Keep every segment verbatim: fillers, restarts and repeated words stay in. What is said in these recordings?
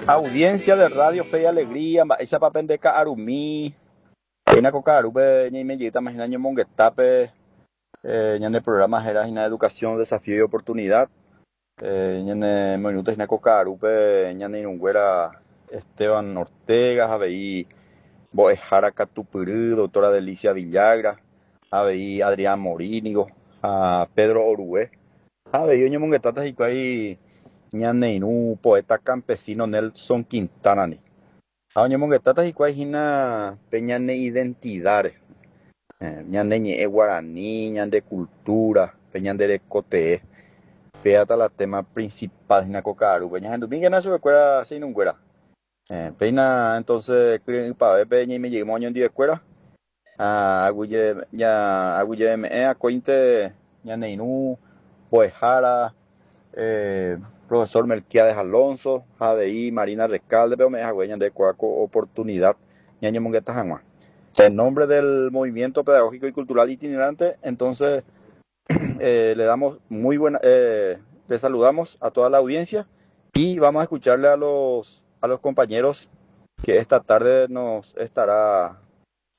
Audiencia de Radio Fe y Alegría, mba'éichapa pende ka'arumi, péina ko ka'arúpe ñaimejeýtama hína ñomongetápe eh, ñane programa héra hína Educación, Desafío y Oportunidad. Eh, ñane moirũta hína ko ka'arúpe ñane irũnguéra Esteban Ortega, avei mbo'ehára Katupyry, doctora Delicia Villagra, avei Adrián Morínigo ha Pedro Orué. Avei oñomongetáta hikuái ñane irũ poeta campesino Nelson Quintana-ni. Ha oñomongetáta hikuái hína pe ñane identidad-re, eh, ñane ñe'ẽ guaraní, ñande cultura, pe ñande rekotee. Péata la tema principal hína ko ka'arúpe. Ñahendumíkena chupekuéra che irũnguéra. Eh, péina entonces kyre'ỹpavépe ñaimejeýma oñondivekuéra. Ha aguyje ña aguyjeme'ẽ akóinte ñane irũ mbo'ehára eh, profesor Melquiades Alonso ha avei Marina Recalde ome'ẽ hague ñande kuaa ko oportunidad ñañomongeta hag̃ua. En nombre del Movimiento Pedagógico y Cultural Itinerante, entonces eh, le damos muy buena, eh, le saludamos a toda la audiencia y vamos a escucharle a los, a los compañeros que esta tarde nos estará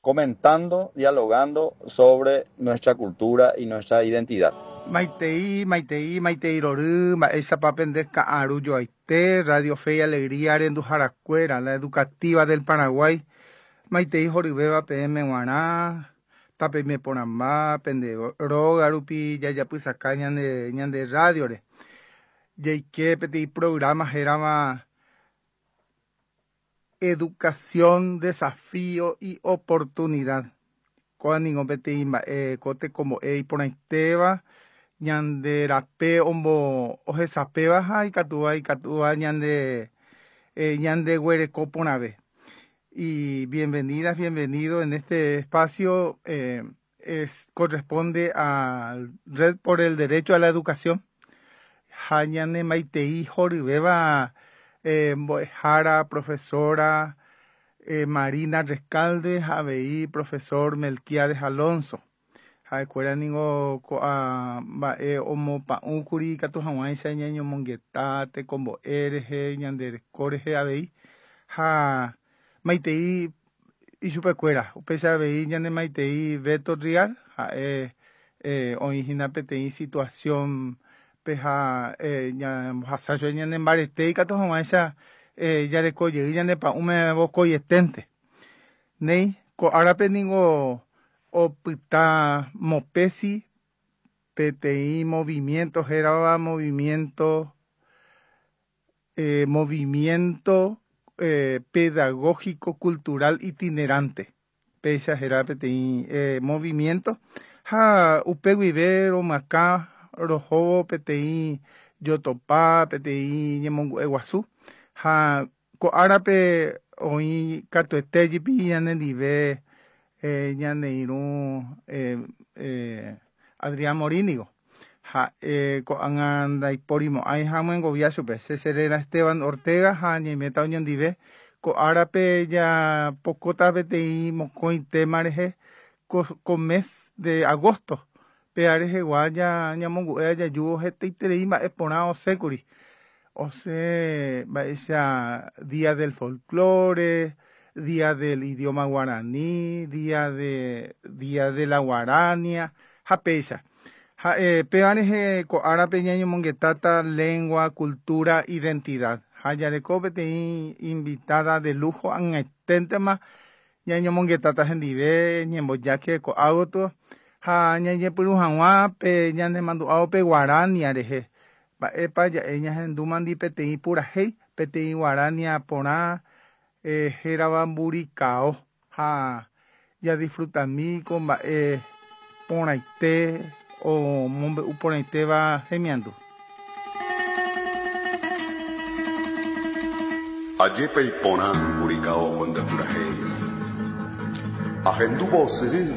comentando, dialogando sobre nuestra cultura y nuestra identidad. Maitei, Maitei, Maitei rory, mba'éichapa pende ka'aru joaite, Radio Fe y Alegría renduharakuéra, la educativa del Paraguay. Maitei horyvéva peẽme g̃uarã, tapeime porãmba, pende róga rupi jajapysaka ñande, ñande radiore. Jaike peteĩ programa hérava Educación, Desafío y Oportunidad. Kóa ningo peteĩ mba'e ko tekombo'e iporãitéva, ñande rape ombo ohesapéva ha ikatúva ikatúva ñande eh, ñandeguereko porãve. Y bienvenidas, bienvenido en este espacio eh, es, corresponde a Red por el Derecho a la Educación. Ha ñane maitei horyvéva eh, mbo'ehára, profesora eh, Marina Recalde ha avei profesor Melquiades Alonso. Ha'ekuéra ningo ko'ã mba'e omopa'ũkuri ikatu hag̃uáicha ñañomongeta tekombo'e rehe, ñande reko rehe avei ha maitei ichupekuéra. Upéicha avei ñane maitei Beto Rial ha'e eh, oĩhína peteĩ situación peha eh, ñambohasa chupe ñane mbarete ikatu hag̃uáicha eh, jareko jey ñane pa'ũme vokoietente. Néi ko árape ningo opyta Mopesi peteĩ movimiento hérava movimiento eh, movimiento eh, pedagógico cultural itinerante. Péicha héra peteĩ eh, movimiento ha upe guive romyakã rohóvo peteĩ jotopa, peteĩ ñemongu'e guasu ha ko árape oĩ katuete jepi ñanendive eh, ñane irũ eh, eh, Adrián Morínigo ha eh, ko'ág̃a ndaiporimo'ãi ha amyengovia chupe. Che cheréra Esteban Ortega ha ñaiméta oñondive ko árape japokóta peteĩ mokõi tema rehe ko, ko mes de agosto péa rehegua ñamongu'e jajúvo hetaiterei mba'e porã osẽkuri. Osẽ mba'éicha Día del Folklore, Día del Idioma Guaraní, Día de, Día de la Guarania ha péicha. Ha eh, péva rehe ko árape ñañomongetáta lengua, cultura, identidad. Ha jareko peteĩ invitada de lujo ag̃aiténtema ñañomongetáta hendive ñembojáke ko'ágotyo ha ñañepyrũ hag̃ua pe ñanemandu'ávo pe guarania rehe. Mba'épa ja'e ñahendúmandi peteĩ purahéi, peteĩ guarania porã eh, hérava Mburikao ha jadisfrutami ko mba'e porãite omombe'u porãitéva hemiandu. Ajépa iporã Mburikao ko nde purahéi. Ahendúvo osyry